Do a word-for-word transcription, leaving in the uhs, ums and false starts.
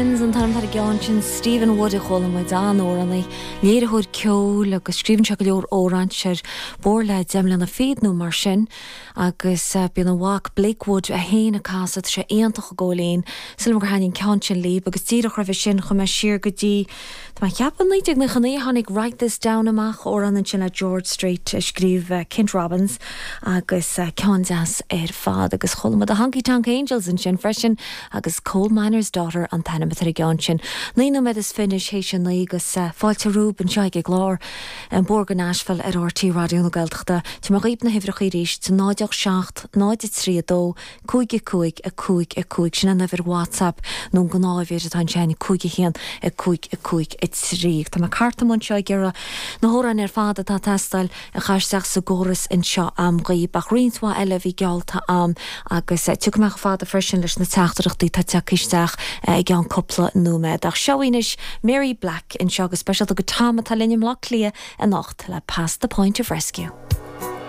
An t-ainm atá ar an gceann sin Stephen Wood a chuala muid an-amhránaí, léiritheoir ceoil agus scríobhann sé go leor amhrán ar bord le deich mbliana fichead nó mar sin agus bíonn a mhac Blake Wood é féin ag casadh sé iontach go léin Sílim gur thaitin an ceann sin libh agus díreach roimhe sin chuaigh mé siar go dtí Tá mé ag ceapadh naoi déag nócha naoi tháinig Write This Down amach amhrán ansin le George Strait a scríobh uh, Kent Robbins agus uh, ceann deas ar fad agus chuala muid the Honky Tonk Angels ansin freisin agus Coal Miner's Daughter an t-ainm atá ar an gceann sin. Naoi nóiméad is fiche théis a naoi agus uh, fáilte romhaibh anseo ag glár an Bóthar go Nashville ar RTÉ Raidió na Gaeltachta. Tá mé dhaoibh na huimhreacha arís náid seacht náid trí dó cúig cúig a cúig a cúig sin an uimhir WhatsApp nó gnáth-uimhir atá sin cúig a haon a cúig a cúig a trí. Tá mé cartam anseo ag iarraidh na hamhráin ar fad atá ag teastáil a chur isteach sa gcóras anseo agam dhaoibh ach roinnt mhaith eile bhí geallta agam agus tiocfaidh mé fada freisin leis na teachtaireachtaí atá tagtha isteach i gceann cúpla nóiméad. Ach seo anois Mary Black anseo go speisialta go Tom atá linn i mBaile Átha Cliath anocht le Past the Point of Rescue.